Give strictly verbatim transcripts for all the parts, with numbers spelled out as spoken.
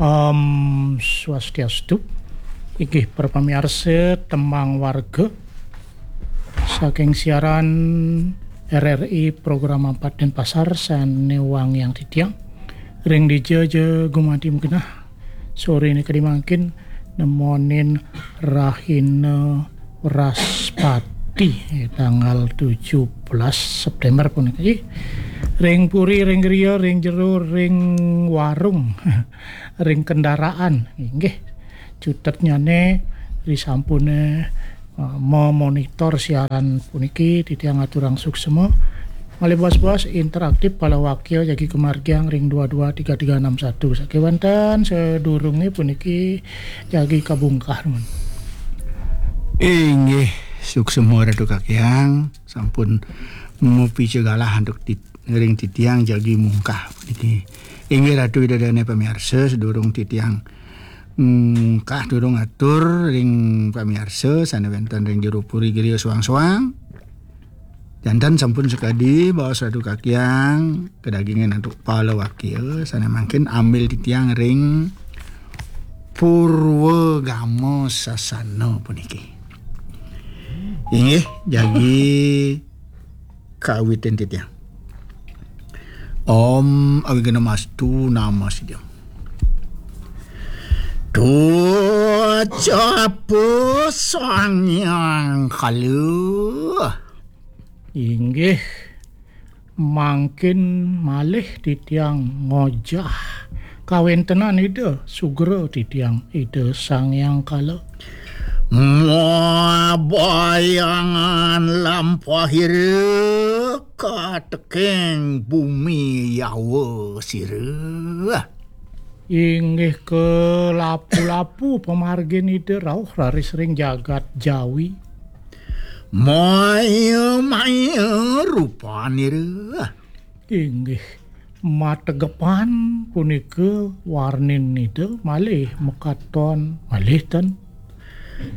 Om Swastiastu. Inggih para pamiarsa, tembang warga saking siaran R R I program empat Denpasar sane wangiang titiang. Ring dija ja gumanti magenah. Sore nika mangkin nemonin rahina Wraspati, eh, tanggal tujuh belas September punika. Ih, ring puri, ring griya, ring jero, ring warung, ring kendaraan. Inggih, cutetnyane risampune, eh, memonitor siaran puniki, titiang aturang suksema. Malih bos-bos interaktif, palawakya jagi kamargiang ring dua dua tiga tiga enam satu. Sakewanten sadurunge puniki jagi kabungkah, men. Inggih, suksema Ratu Kakiang, sampun mupica galah antuk tit-, ring titiang jagi mungkah puniki. Inggih Ratu Ida Dane pamiarsa, sadurung titiang mungkah durung atur ring pamiarsa sane wenten ring jero puri griya soang-soang. Janten sampun sakadi baos Ratu Kakiang, kadagingin antuk palawakya, sane mangkin ambil titiang ring Purwagama Sasana puniki. Inggih, jagi kawitin titiang. Om Awighnamastu Namasidham. Tucapu Sang Hyang Kala. Inggih, mangkin malih titiang ngojah kawentenan Ida, sugra titiang Ida Sang Hyang Kala. Mabayangan lampahira kateking bumi yawa sira. Inggih kalapu-lapu pamargin Ida rauh raris ring jagat Jawi. Maya-maya rupanira. Inggih, mategepan punika warnin Ida malih makaton malih ten.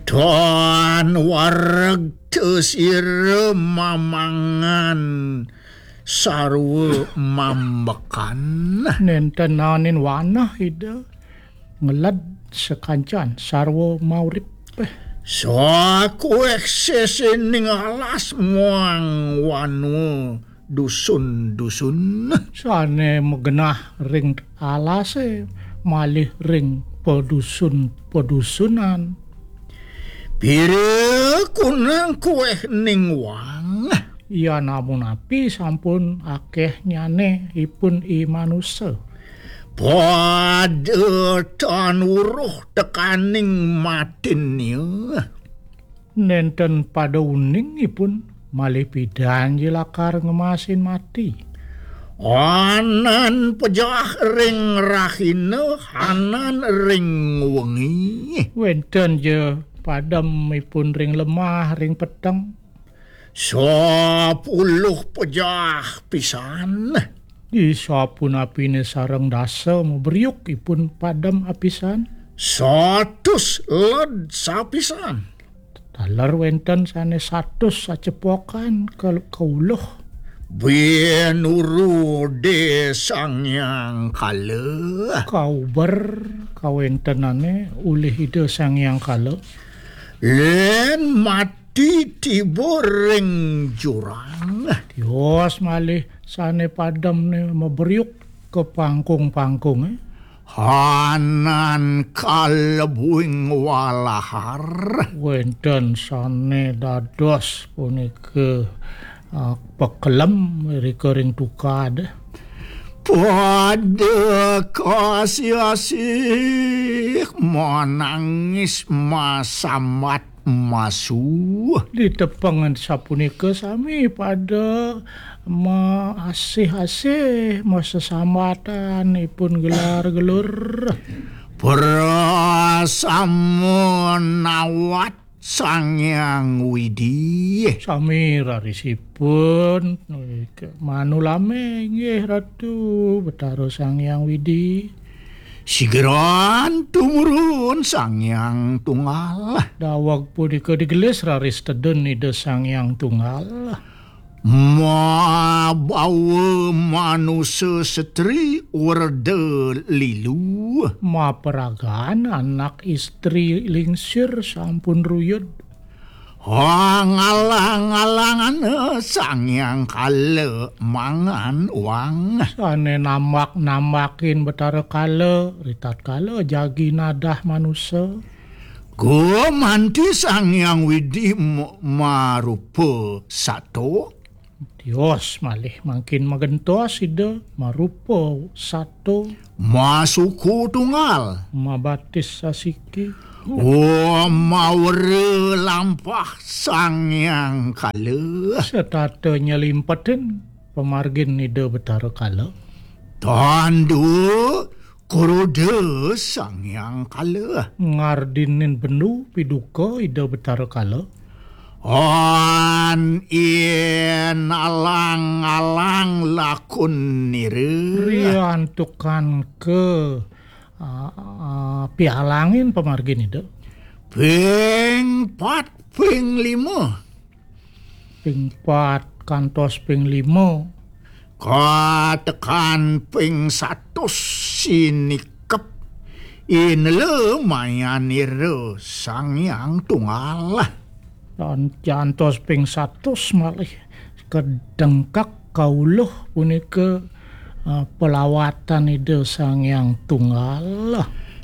Tan wareg tesira mamangan sarwa mambekan. Nenten nanin wanah Ida ngeled sakancan sarwa maurip. Sakueh sisining alas muang wanua dusun-dusun. Sane magenah ring alase malih ring padusun-padusunan. Pira kunang kueh ning wang. Ya namun api sampun akeh nyane ipun i manusa. Pada tan uruh tekaning matinnya. Nenten pada uning ipun malih pidan lakar ngemasin mati. Anan pejah ring rahina, anan ring wengi. Wenten ja padem ipun ring lemah, ring peteng. Sapuluh pejah pisan. Di sapunapine sareng dasa mabriuk ipun padem apisan. Satus led sapisan. Taler wenten sane satus sacepokan ke, ke uluh. Binurude Sang Hyang Kala. Kauber kawentenane ulih Ida Sang Hyang Kala. Len mati tiba ring jurang. Tios malih sane pademne mabriuk ke pangkung-pangkunge. Hanan kalebuing walahar. Wenten sane dados punika, ah, pekelem rika ring tukad. Pada kasih-asih manangis masambat masu. Ditepengan sapunika sami pada maasih-asih, masesambatan ipun gelar-gelur. Prasamunawat Sang Hyang Widi. Sami rarisipun manulame inggih Ratu Betara Sang Hyang Widi. Sigeran tumurun Sang Hyang Tunggal. Daweg punika digelis raris tedun Ida Sang Hyang Tunggal. Mabawa manusa setri werda lilu. Maperagan anak istri lingsir sampun ruyud. Ngalang-ngalangana Sang Hyang Kala mangan wang. Sane nambak-nambakin Betara Kala, ritatkala jagi nadah manusa. Gumanti Sang Hyang Widi m-, marupa sato. Tios malih mangkin magentos Ida marupa sato. Masuku tunggal. Mabatis sasiki. Oh, mawera lampah Sang Hyang Kala. Setata nyelimpetin pamargin Ida Betara Kala. Tandu Kuruda Sang Hyang Kala. Ngardinin bendu piduka Ida Betara Kala. An yen alang-alang lakun nira. Riantukan ke, ah, ah, pialangin pamargin Ida. Ping pat, ping lima. Ping pat kantos ping lima. Katekan ping satus sinikep. Inela mayanira Sang Hyang Tunggal. Dan jantos ping satus malih kedengkak kauluh punika, ah, pelawatan Ida Sang Hyang Tunggal.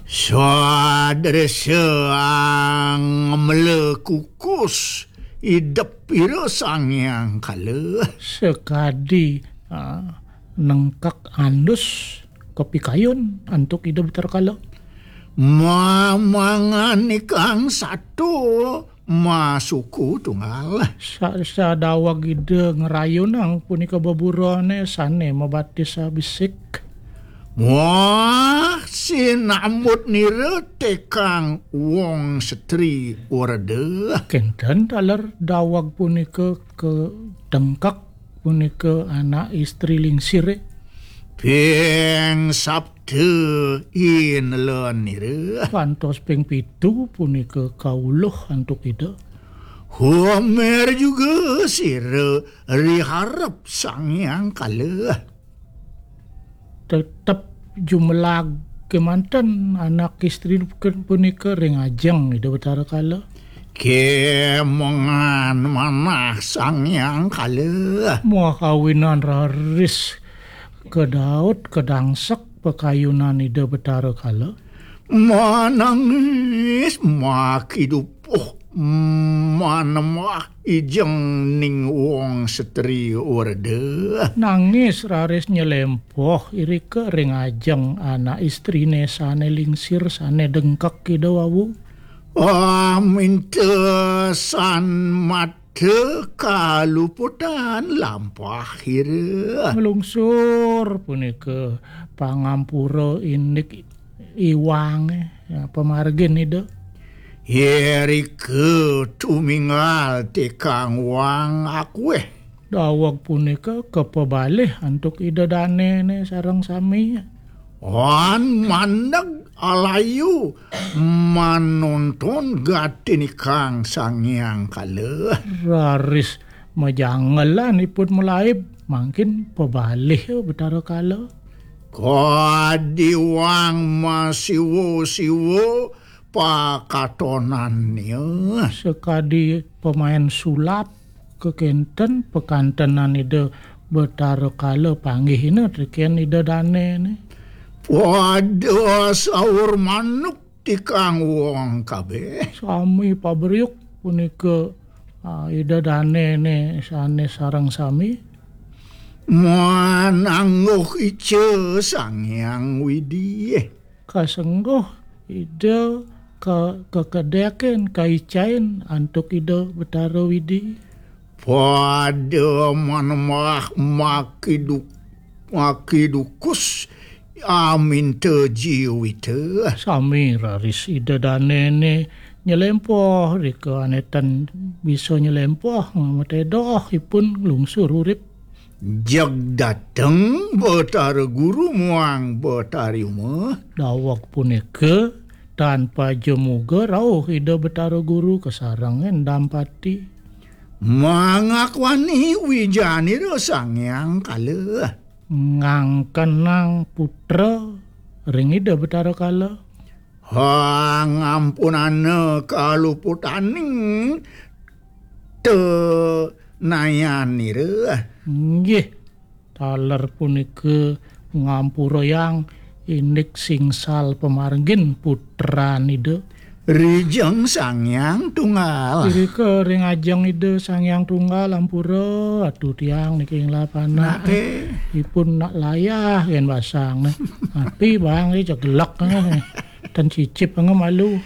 Sadresa ang mela kukus idep ira Sang Hyang Kala. Sekadi, ah, nengkak andus kapikayun antuk Ida Betara Kala. Mamangan ikang sato masuku tunggal. Sa-, sadaweg Ida ngrayunang punika beburane sane mabatis abisik. Muah sinambut nira tekang wong setri werda. Kenten taler daweg punika kedengkak punika anak istri lingsire. Ping sabda inela nira. Kantos ping pitu punika kauluh antuk Ida. Homer juga sira riharep Sang Hyang Kala. Tetep jumelag kemanten anak istri punika ring ajeng Ida Betara Kala. Kemengan manah Sang Hyang Kala. Muah kawinan raris kedaut kedangsek pakayunan Ida Betara Kala. Manangis makidupuh manembah ijeng ning wong setri werda. Nangis raris nyelempoh irika ring ajeng anak istrine sane lingsir sane dengkek Ida wau. Ah, minta san mata kaluputan lampah ira. Nglungsur punika pangampura indik iwange, ya, pamargin Ida. Irika tuminggal tekang wang akueh. Daweg punika kapebalih antuk Ida danene sareng sami. Wan mandeg alayu manonton gatinikang Sang Hyang Kala. Raris majangelan ipun malaib, mangkin pebalih Betara Kala. Kadi wang masiwa-siwa pakatonannya. Sekadi pemain sulap kekenten pakantenan Ida Betara Kala panggihina teken Ida danene. Pada saur manuk tikang wong kabeh. Sami pabriuk punika, ah, Ida danene sane sareng sami. Manangguh ica Sang Hyang Widi. Kasengguh Ida ka-, kakedekin, kaicain antuk Ida Betara Widi. Pada manembah makiduk-, makidukus aminta jiwita. Sami raris Ida danene nyelempoh, rika ane tan bisa nyelempoh, matedoh ipun nglungsur urip. Jeg dateng Betara Guru muang Betari Uma. Daweg punika, tan paja muga rauh Ida Betara Guru kasarengin dampati. Mangakwani wijanira Sang Hyang Kala. Ngangkenang putra ring Ida Betara Kala. Ha, ngampunana kaluputaning tenayanira. Nggih, taler punika ngampurayang indik singsal pamargin putran Ida. Rijeng Sang Hyang Tunggal. Irika ring ajeng Ida Sang Hyang Tunggal ampura atu tiang niki ing lapanah. Nate. Ipun nak layah yen basang. Api bang, eh, cegelek, eh. Ten cicip, eh, malu.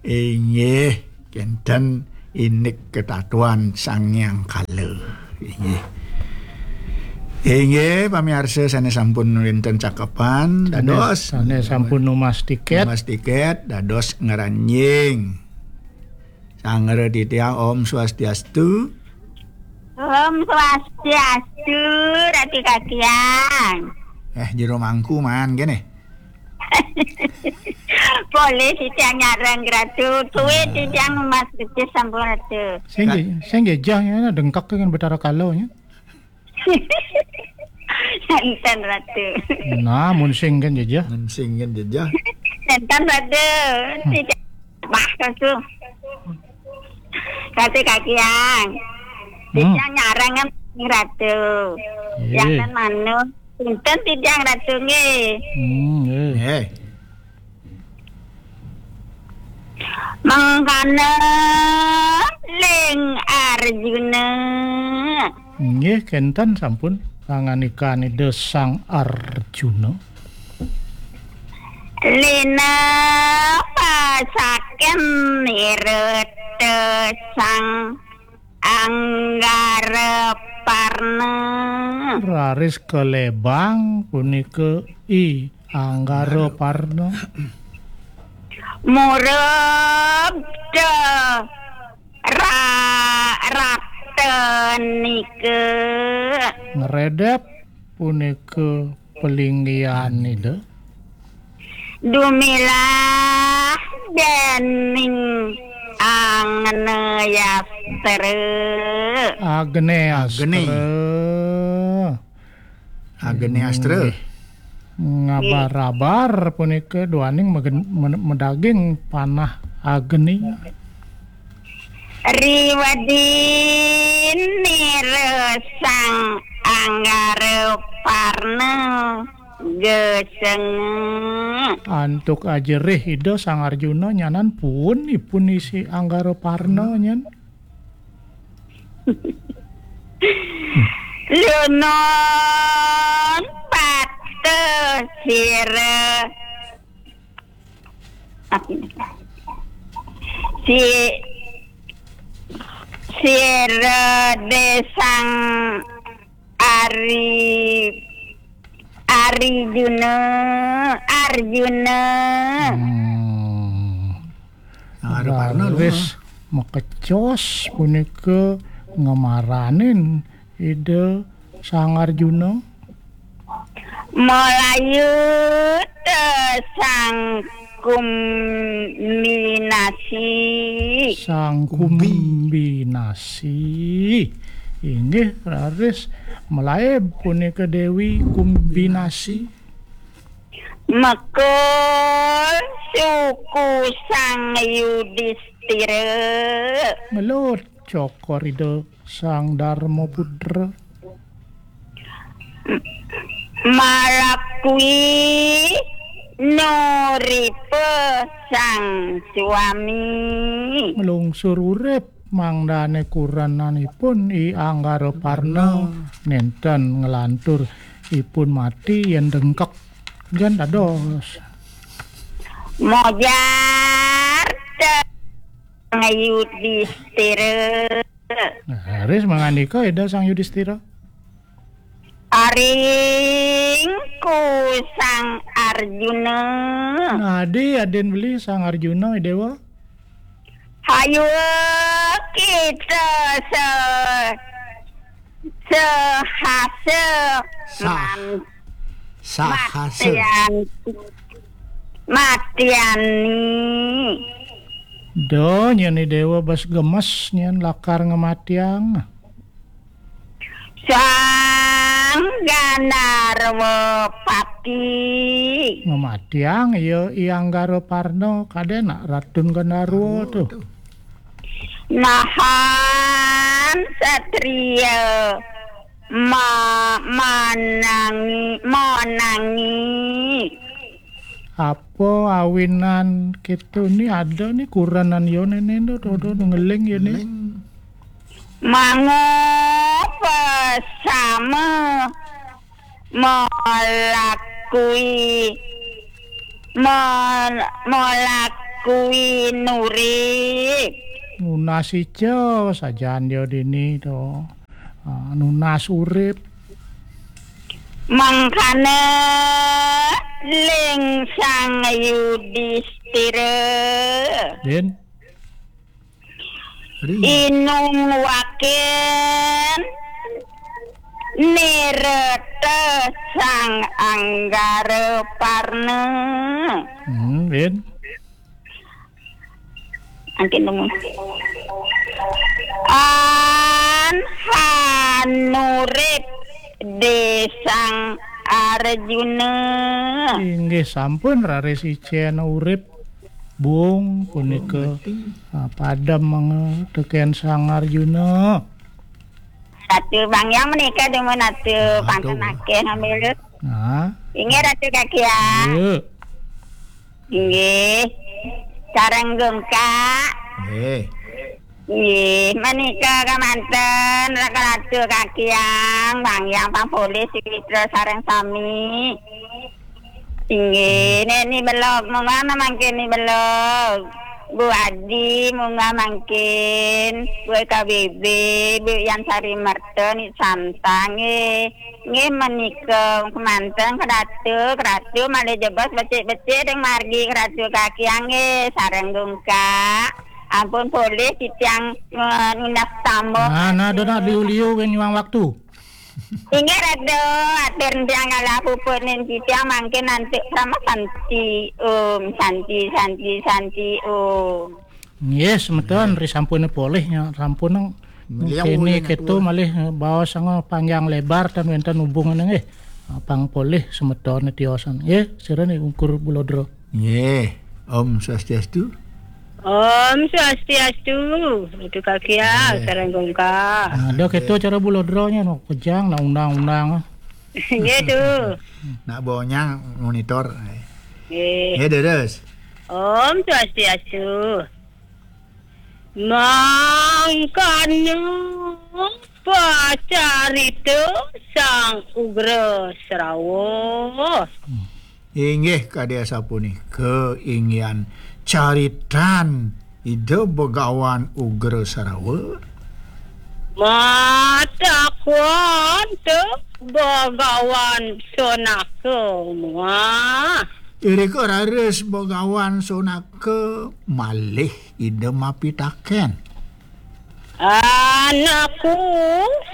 Inggih, kenten indik ketatuan Sang Hyang Kala. Inggih. Inggih, pamiarsa sane sampun wenten cakepan, sane, dados sane sampun numas tiket. Numas tiket, dados ngranjing. Sanggra titiang, Om Swastiastu. Om Swastiastu, Ratu Kakian. Eh, jero mangku man kene. Boleh titiang nyareng, Ratu. Tuwit titiang numas becik sampun, Ratu. Sing nggih, sing nggih, jah, ya, dengkak dengan Betara Kala, ya. Enten, Ratu. Nah, mun sing kan jejeh. Mun sing kan jejeh. Enten, Ratu. Hmm. Tidak. Bah, Ratu. Ratu Kakian. Hmm. Titiang nyareng kan, Ratu. Iya. Yang kan manuk. Enten titiang, Ratu, nggih. Hmm, nggih. Nggih. Mangkana ling Arjuna. Nggih, kenten sampun pangandikan Ida Sang Arjuna. Lina pasaken nirata Sang Anggara Parna. Raris kalebang punika I Anggara Parna. Murub da ra-, ratanika. Ngredep punika palinggihan Ida. Dumilah dening Agneyastra. Agneyastra. Agne. Agneyastra. Nggih. Ngabar-abar punika duaning megen-, men-, medaging panah Agni. Riwadinira Sang Anggara Parna geseng. Antuk ajerih Ida Sang Arjuna nyanan puun ipun isi Anggara Parna nyen. Lunun patuh sira. Si-, sira desang Ari-, Arijuna, Arjuna. Hmm. Nah, ada Parna, raris makecos punika ngemaranin Ida Sang Arjuna. Malayuta Sang Kumbinasi. Sang Kumbi. Kumbinasi. Inggih, raris malaib punika Dewi Kumbinasi. Mekul suku Sang Yudistira. Ngelut cokor Ida Sang Darmaputra. Malakwi nuripa Sang Swami. Nglungsur urip mangdane kurenanipun I Anggara Parna nenten nglantur ipun mati yen dengkek. Jan dados. Mojar te Yudistira. Nah, raris mangandika Ida Sang Yudistira. Aring ku Sang Arjuna. Nah, adi adin beli Sang Arjuna, Dewa. Hayu kita se-, sehasa Sah-, man-, sahasa. Matian-, matiani. Do, nyén I Déwa bes gemes nyén lakar ngematiang. Sang Gandarwa Pati. Ngematiang, ya, I Anggara Parna, kadén nak Ratun Gandarwa tuh. Nahan satria ma-, manangi, monangi. Apa awinan kéto ni ada ni kurenan ya néné to, to, to, ngeling ya ni. Ngeling. Mangapa sama melakui, mel-, melakui nurip? Nunas ica sajan ya dini to. Ah, nunas urip. Mangkana ling Sang Yudistira. Din. Ri. Inung wakin nireta Sang Anggara Parna. Hmm, Din. Angkin dungu. An hanurip di Sang Arjuna. Inggih sampun raris icén urip, Bung, punika, ah, padem mangga tekén Sang Arjuna. Ratu Bang Hyang menika dumun Ratu. Aduh. Panten akéh ngambil. Nah. Inggih Ratu Kakiang. Iya. Inggih. Sareng Gungkak. Nggih. Nggih, menika kamanten Ratu Kakiang, Bang Hyang, Pang Polih, Sitra sareng sami. Inggih, Néni Belog, monggo mangkin Ni Belog. Bu Adi, monggo mangkin. Bu K B B, Bu Yan Sari Merta, Ni Santa, nggih. Nggih, menika kemanten Ratu, Ratu malih jebos becik-becik ring margi Ratu Kakiang nggih, sareng Gungkak. Ampun polih titiang, eh, nunas tambah. Nah, nah, do nak liu-liu kan nyuang waktu. Inggih, Ratu, atur tiang kalah puput nin titiang mangkin antuk sama santi, Om, santi, santi, santi, Om. Nggih, semeton, ri sampun polih nya, sampun nang. Beliau kene ulih kéto ngatur. Malih, eh, baos sanga panjang lebar tan wénten hubungan nggih. Pang polih semeton tiosan. Nggih, sira ni ungkur Bulodro. Nggih. Om Swastiastu. Om Swastiastu. Itu Kakiang, nggih. Sareng Gungkak. Nah, ada kéto cara Bulodro nya, no, kejang, nak undang-undang. Nggih, tu. Nak bonyang monitor. Nggih. Nggih, terus. Om Swastiastu. Mangkana pacarita Sang Ugra Srawa. Inggih kadi asapunika inggihan caritan Ida Begawan Ugra Srawa. Matakon tu Begawan Sonaka muah. Irika raris Begawan Sonaka malih Ida mapitaken. Anakku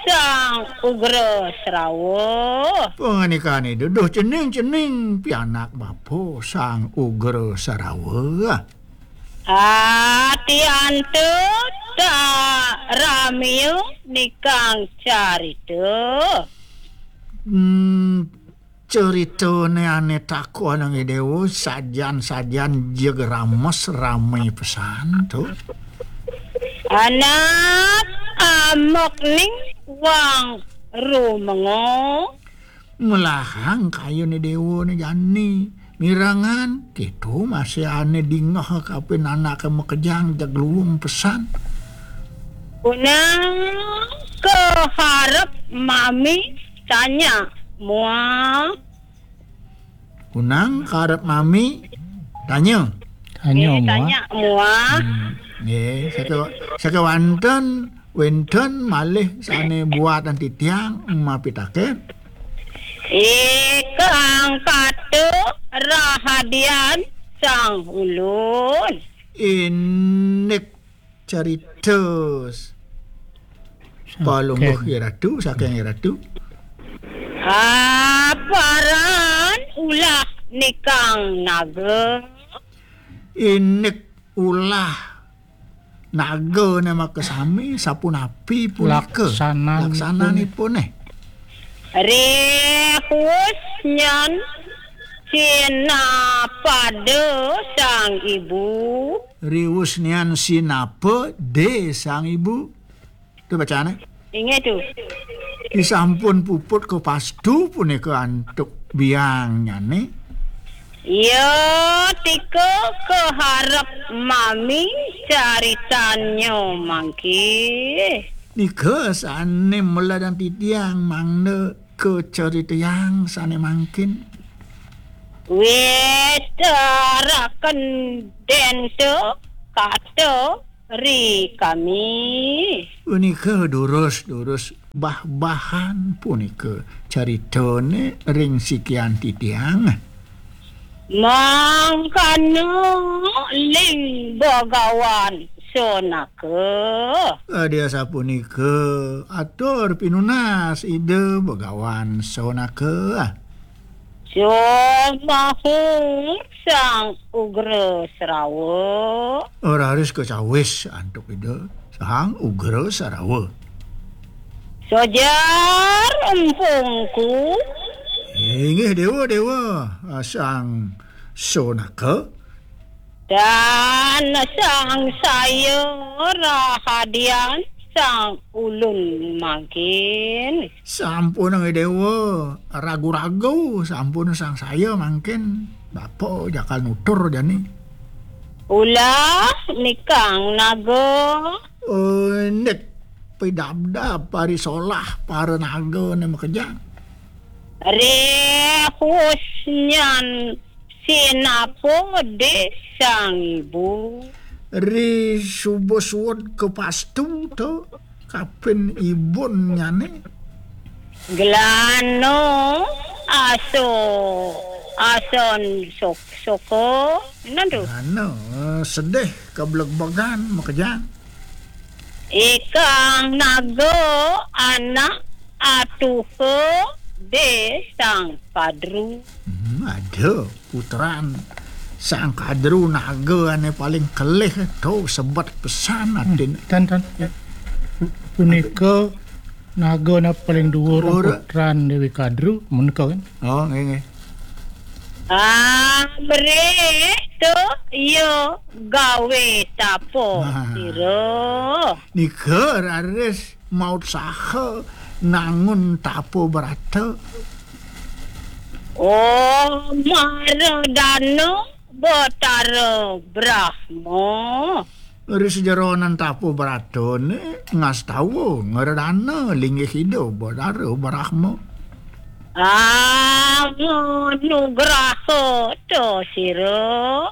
Sang Ugra Srawa. Pangandikan Ida, duh cening-cening pianak bapa Sang Ugra Srawa. Ati anta tak ramia nikang carita. Hmm, Ceritané ané takonang Ida Déwa sajan-sajan jeg rames ramé pesan to. Anak amok ning wang rumengo. Melahang kayun Ida Déwa né jani. Mirengang, kéto masih ané dingeh kapining anaké makejang jeg luung pesan. Punang kaharep mami tanya mua. Kunang karep mami tanya. Tanya, eh, mua. Tanya mua. Hmm, nggih, saka-, sakawanten wénten malih sané buatan titiang mapitaken. Ikang kata rahadian sang ulun. Indik carita. Saking. Palungguh I Ratu, saking I Ratu. Aparan ulah nikang naga. Indik ulah Nagane makasami, sapunapi punika? Laksananipune. Laksananipune. Riwus nyan sinapada sang ibu. Riwus nyan sinapa de sang ibu. Tu bacane. Inggih tu. Disampun puput kapastu punika antuk biangnyane. Ya, tika kaharep mami caritannya mangke. Nika sane meledan titiang mangda kacaritayang sane mangkin. Wis taraken denta kata ri kami. Punika durus-durus bah-bahan punika caritane ring sikian titiang. Mangkana ling Bagawan Sonaka. Adi asapunika atur pinunas Ida Bagawan Sonaka. Sumahur Sang Ugra Srawa. Raris kacawis antuk Ida Sang Ugra Srawa. Sojar empungku. Inggih Dewa, Dewa, Sang Sonaka. Dan sangsaya rahadian sang ulun mangkin. Sampun, Dewa, ragu-ragu, sampun sangsaya mangkin. Bapa jakal nutur jani. Ulah nikang naga. Indik pidabdab parisolah para naga ne makejang. Rehus nyan sinapa de sang ibu. Ri suba suud kapastu to kapin ibun nyane. Gelano aso ason sok soko. Nantu. Gelano sedih keblegbegan makejang. Ikang naga anak atuha de sang kadru. Hmm, ada putran sang kadru naga ane paling kelih to sebet pesan atin. Tan, tan. Punika naga ane paling duur putran Dewi Kadru, menika kan? Oh, nggih, nggih. Ah, mrih tu ya gawe tapa sira. Nika raris mautsaha nangun tapa brata. Oh, maradana Batara Brahma. Ri sajeroning tapa bratane ngastawa ngredana linggih Ida Batara Brahma. Ah, manugraha ta sira.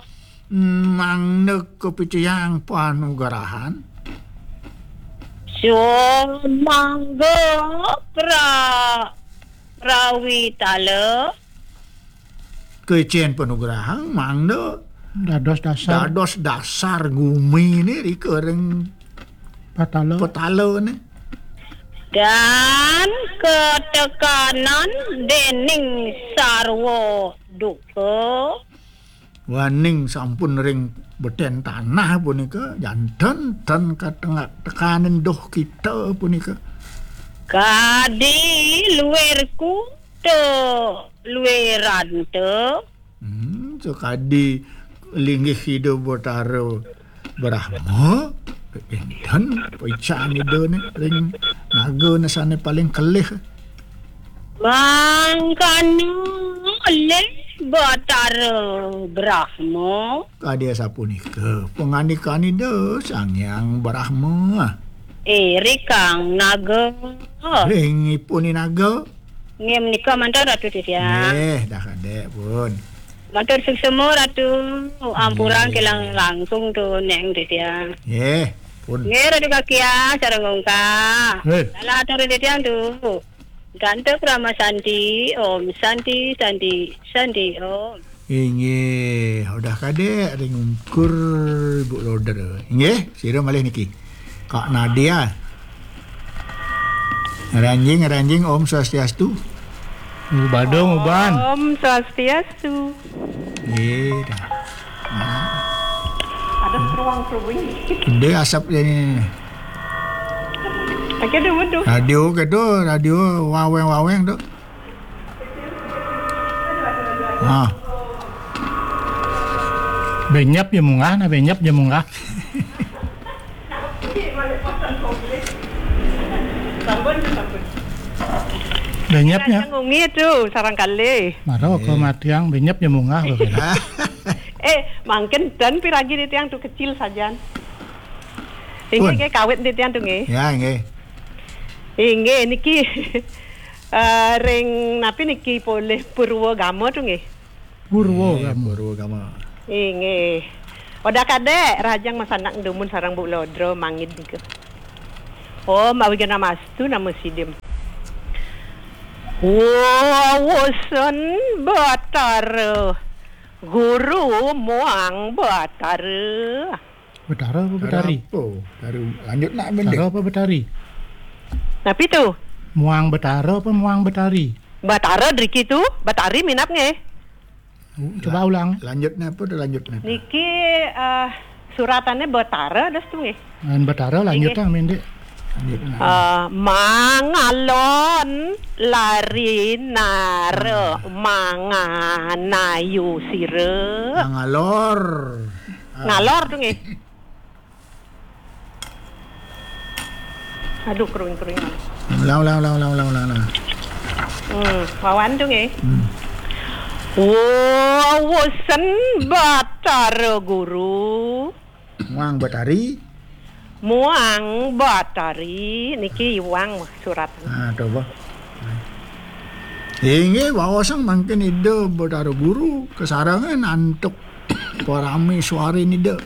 Mangda kapicayang panugrahan. Sumangga pra-, prawitala. Kecen panugrahan mangda dados dasar. Dados dasar gumi ni rika ring patala. Patala ni. Dan katekanan dening sarwa duka. Waning sampun ring beten tanah punika, janten ten katengak tekanin duh kita punika. Kadi luirku te luirante. Hmm, sakadi linggih Ida Batara Brahma, enten paican Ida ne ring naga ne sane paling kelih. Mangkana olih Batara Brahma. Kadi asapunika pangandikan Ida Sang Hyang Brahma. Eh, rikang naga. Ring ipun naga. Nggih, menika mantan Ratu Titiang. Nggih, dah kadek pun. Matur suksema Ratu. Ampurang nggih. Kelang langkung tu neng Titiang. Nggih, pun. Nggih, Ratu Kakia, sareng ungkah. Nggih. Salah atur Titiang tu. Ganta Krama Santi, Om Santi, Santi, Santi, Om. Inggih, udah kadek ring ungkur Ibu Loder. Inggih, sira malih niki. Kak Nadia. Ranjing, ranjing, Om Swastiastu. Badung, Uban. Om Swastiastu. Nggih, dah. Nah. Ruang kerubung. Gedé asap ini. Pakai dulu tuh. Radio ke tuh, radio waweng-waweng tuh. Ah. Benyap ya munggah, nah benyap ya munggah. Benyap ya. Ngungi tuh, sarang kali. Maro ke matiang, benyap ya munggah. Eh, mangkin dan piragi di tiang tuh kecil sajan. Inggih, nggih, kawit di tiang tuh, nggih. Ya, nggih. Inggih, niki, eh, ring napi niki polih Purwa Gama tuh, nggih. Purwa Gama. Purwa Gama. Inggih. Odah kadek, rajang masanak dumun sarang Bu Lodro mangid nika. Om Awighnamastu nama sidim. Wawasan Batara Guru muang Batara. Betara apa Betari? Apa? Betara, lanjut nak bendek. Betara apa Betari? Napi tu? Muang Betara apa Muang Betari? Batara driki tu, Betari minap nggih. Oh, coba ulang. Lanjutnya apa tu, lanjutnya apa? Niki, eh, suratannya Betara das tu nggih. Lain Betara, lanjut nggih. Lah, mendek. Lanjut nak. Eh, mangalon lari nara manganayu sira. Mangalor. Ah. Ngalor tu nggih. Aduh, kruing-kruing. Ulang, ulang, ulang, ulang, ulang, ulang, ulang. Hmm, wawan tu nggih. Hmm. Wawasan Batara Guru. Muang Betari. Muang Betari niki iwang surat. Ah, coba. Inggih, wawasan mangkin Ida Betara Guru kasarengan antuk parami suarin Ida.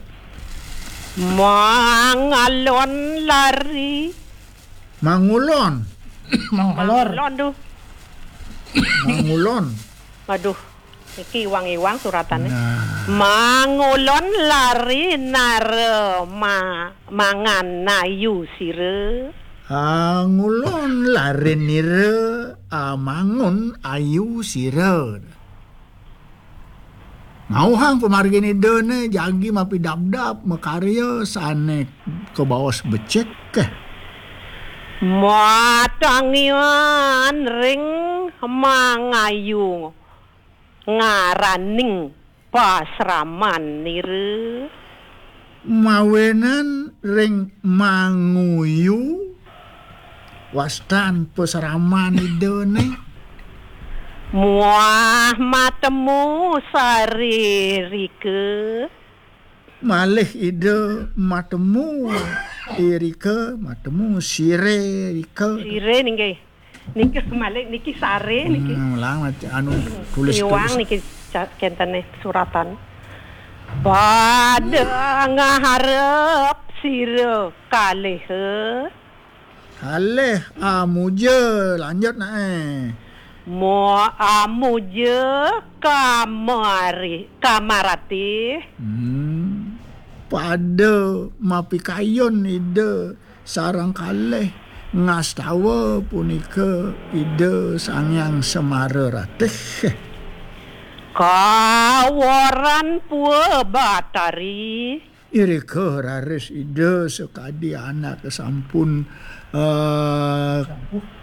Mangalon lari. Mangulon. Mangalor. Mangulon tu. Mangulon. Aduh, niki iwang-iwang suratannya. Nah. Mangulon lari nara ma-, mangan ayu sira. Ah, ngulon lari nira, ah, mangun ayu sira. Ngauhang pamargin Ida né jagi mapi dabdab makarya sané kabaos becik. Matangian ring mangayu ngaraning pasraman nira. Mawinan ring manguyu wastan pasraman Ida né. Muah matemu saririka. Malih Ida matemu irika, matemu sire rika. Sire nggih. Nika malih niki sare niki. Hmm, ulang, anu, tulis, iwang tulis. Niki ca-, kentene suratan. Pada ngaharep sira kalih. Kalih amuja, lanjut nae. Mo amuja kamari, kamarati. Hmm. Pada mapikayun Ida sareng kalih ngastawa punika Ida Sang Hyang Semara Ratih. Kaworan Pua Batari. Irika raris Ida sakadi anak sampun, eh,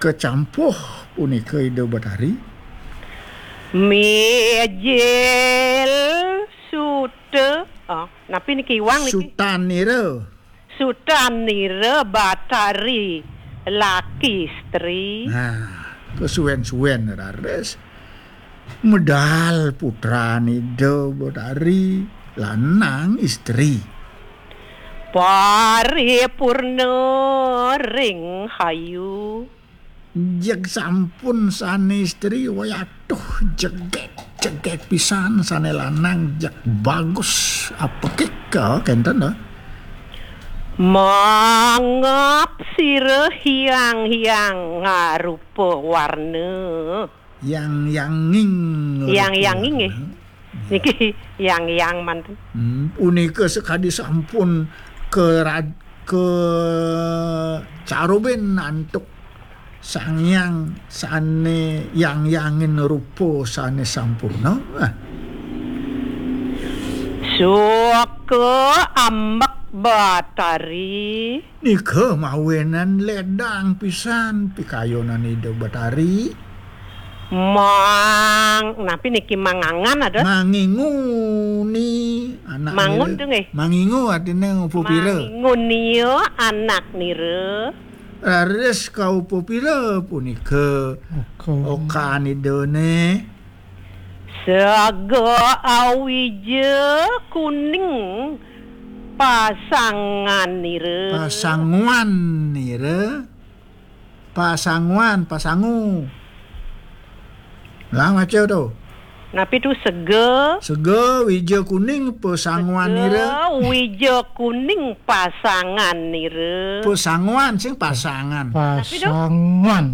kecampuh punika Ida Batari. Mijil suta. Ah, napi niki iwang niki? Sutanira. Sutanira Batari laki istri. Nah, kesuwen-suwen raris medal putran Ida Betari lanang istri. Paripurna ring hayu. Jeg sampun sane istri, wayatuh jegek, jegek pisan, sane lanang jeg bagus apekik, kenten, eh. Mangap sira hiang-hiang ngarupa warna. Yang-yanging. Yang-yanging, eh. Niki yang-yang manten. Hmm, punika sekadi sampun kerad-, kecarubin antuk Sang Hyang sane yang-yangin rupa sane sampurna. Ah. Suka ambek Batari. Nika mawinan ledang pisan pikayunan Ida Batari. Mang, napi niki mangangan ada? Manginguni anak Mangun nira. Tuh, nggih. Mangingu artinya pupira. Manginguni ya anak nira. Raris kau pupira punika. Oka. Okan Ida ne. Sega awija kuning pasangan nira. Pasanguan nira. Pasanguan, pasangu. Lah maca to. Napi tu sega? Sega wija kuning pasanguan nira. Sega wija kuning pasangan nira. Pasanguan sing pasangan. Napi tu? Pasanguan.